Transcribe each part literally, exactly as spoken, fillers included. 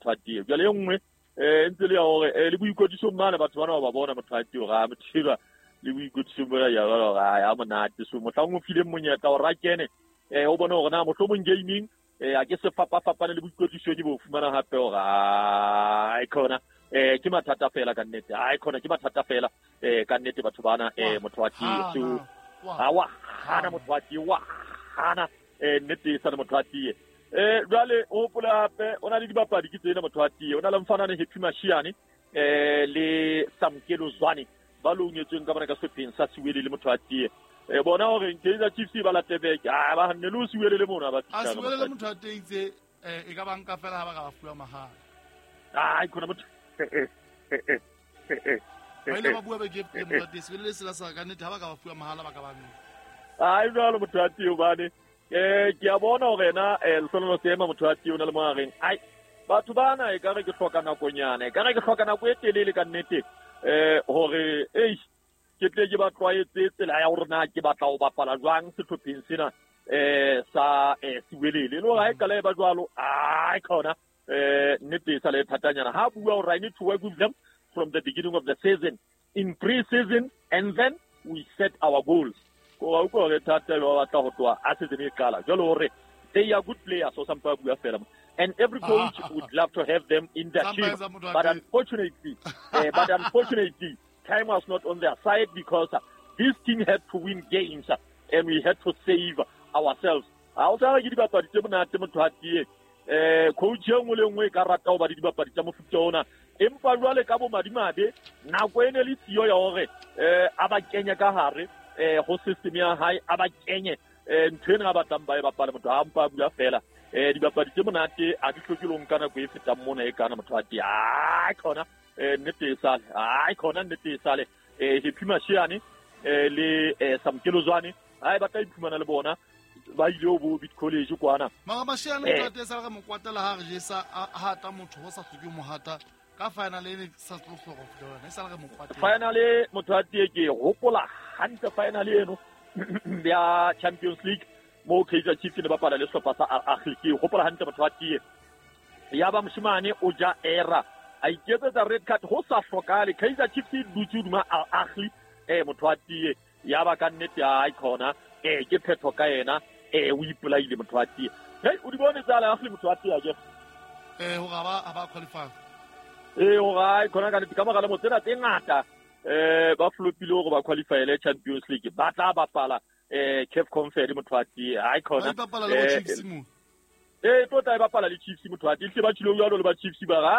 motho a tie. Jwale e nngwe eh ntse le ya hore le boikwetlisong mane batho bana ba bona motho a tie hore a motho le boikwetlisong bona ya hore a monate. So mohlang o fileng monyetla hore a kene eh o bone hore na mohlomong gaming eh a ke se fapafapane le boikwetlisong ke bo fumana hape hore ai khona eh ke mathata fela ka nnete. Ai khona ke mathata fela eh ka nnete batho bana eh motho wa tie. So ha wa hana motho wa tie wa hana eh nnete sa le motho wa tie. Eh jwale o hopola hape o na le dibapadi ke tsena motho wa tie. O na le mfanane Happy Mashiane eh le Samkelo Zwane ba longetsweng ka bona ka sepheng sa Siwele le motho wa tie. E bona hore Kaizer Chiefs ba latebeke a ba hanne le Siwele le mona ba a Siwele le motho wa tie itse e ka banka fela ha ba ka ba fuwa mahala. Ai khona motho eh eh eh eh ba ile ba bua ba ke motho wa tie Siwele le sela sa ka nnete ha ba ka ba fuwa mahala ba ka ba nne. Ai jwalo motho wa tie hobane eh ke a bona hore na eh Lehlohonolo Seema motho wa tie o na le mohareng. Ai batho bana e ka re ke hloka nakonyana e ka re ke hloka nako e telele ka nnete eh hore ei ke tle ke ba tlwaetse tsela ya hore na ke batla ho bapala jwang sehlopheng sena eh sa eh Siwelele. Le hore ha e qala e ba jwalo ai khona eh nnete sa le thatanyana ha bua hore I need to work with them from the beginning of the season in pre-season and then we set our goals. Ko wa utlwa hore thata ba batla ho tloha a season e qala jwalo hore they are good players so some bua fela and every coach would love to have them in their team but unfortunately uh, but unfortunately time was not on their side because uh, this team had to win games uh, and we had to save ourselves. Ha o tsara ke dibapadi tse monate motho a tie eh coach e nngwe le nngwe e ka rata ho ba le dibapadi tsa mofuta ona empa jwale ka bo madimabe nako e ne le siyo ya hore eh a ba kenye ka hare eh ho system ya hae a ba kenye eh ntho ena ba batlang ba e bapale motho a mpa bua fela eh dibapadi tse monate a di hloke lo nka nako e fetang mona e kana motho a tie ai khona eh nnete e sale ai khona nnete e sale eh Happy Mashiane eh le eh Samkelo Zwane ai ba tla iphumana le bona ba ile ho bo Bit College kwana mara Mashiane motho a tie sale re mo kwatela ha re jesa ha ta motho ho sa hloke mohata ka final e sa tlo hloka ho fihla e sale re mo kwatela final motho a tie ke hopola hantle final eno ya Champions League mo Kaizer Chiefs ne bapala le sehlopha sa Al Ahly ke hopola hantle motho a tie ya ba moshimane o ja era a iketsetsa red card ho sa hlokale Kaizer Chiefs e dutse hodima Al Ahly eh motho a tie ya ba ka nnete ai khona eh ke phetho ka yena eh o ipolaile motho a tie. Hey o di bone tsa Al Ahly motho a tie ke eh hore ba ba qualify eh hore ai khona ka ka mora le motsena tse ngata eh ba flopile hore ba qualifyele Champions League ba tla bapala eh C A F Conference motho a tie ai khona ba bapala le Chiefs mo eh tota e bapala le Chiefs motho a tie tle ba tshilo jwalo le ba Chiefs ba ra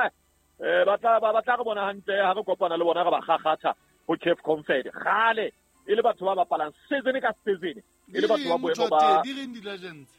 eh ba tla ba tla re bona hantle ha re kopana le bona re ba kgakgatha ho C A F Conference gale e le batho ba bapalang season ka season e le batho ba boemo ba di reng di legends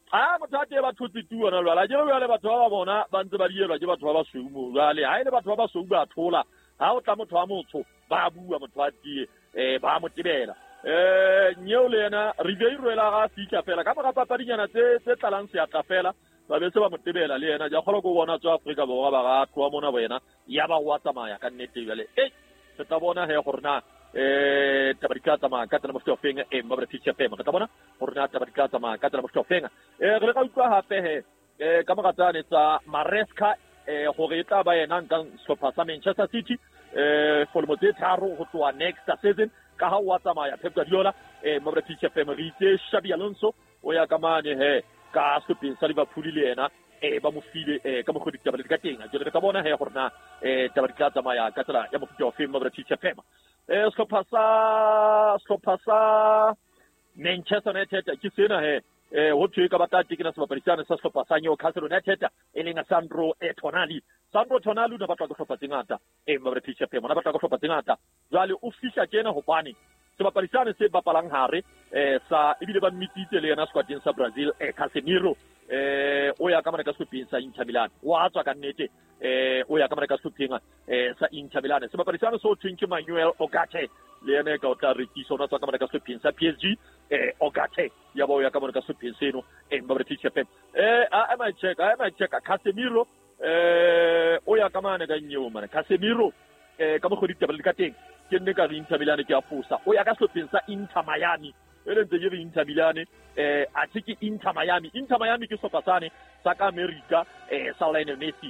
ha motho a tie ba thotse tu ona jwale ke jwale batho ba ba bona ba ntse ba dielwa ke batho ba basweu mo jwale ha ile batho ba basweu ba thola ha o tla motho wa motho ba bua motho a tie eh ba mo tebela eh nyeo le yena Ribeiro ela ga fihla fela ka mora papadinyana tse tse tlalang seatla fela ba be se ba mo tebela le yena ja kgolo go bona tswa Afrika Borwa ba ga tloa mona wena ya ba wa tsamaya ka nnete jwale eh re tla bona he gore na eh taba di tla tsamaya ka tsela mofuta ofeng e mma British F M re tla bona gore na taba di tla tsamaya ka tsela mofuta ofeng eh re ka utlwa hape he eh ka mora tsane tsa Maresca eh gore e tla ba yena nkang sehlopha sa Manchester City eh for lemo tse tharo ho tloha next season ka ha wa tsamaya Pep Guardiola eh mma British F M re itse Xabi Alonso o ya ka mane he ka sehlopheng sa Liverpool le yena eh ba mo file eh ka mokgwa ditaba di ka teng jwale re tla bona he gore na eh taba di tla tsamaya ka tsela ya mofuta ofeng mma British F M eh sehlopha sa sehlopha sa Manchester United ke sena he eh ho thwe ka batla tekena sebapadi sane sa sehlopha sa Newcastle United e leng Sandro Tonali. Sandro Tonali o ne batla go hlopha tse ngata eh mma British F M o ne batla go hlopha tse ngata jwale o fihla tjena hobane sebapadi sane se bapalang hare eh sa ebile ba mmititse le yena squadeng sa Brazil eh Casemiro eh o ya ka mona ka sehlopheng sa Inter Milan wa tswa ka nnete eh o ya ka mona ka sehlopheng eh sa Inter Milan sebapadi sane so thweng ke Manuel Ugarte le yena ka o tla rekisa ona tswa ka mona ka sehlopheng sa P S G eh Ugarte ya ba o ya ka mona ka sehlopheng seno eh mma British F M eh a ma check a ma check Casemiro eh o ya ka mane ka nyeo mane Casemiro eh ka mokgwa ditaba le ka teng ke nne ka re Inter Milan ke a fosa o ya ka sehlopheng sa Inter Miami e le ntse ke re Inter Milan eh a ke Inter Miami Inter Miami ke sehlopha sane sa ka America eh sa Lionel Messi.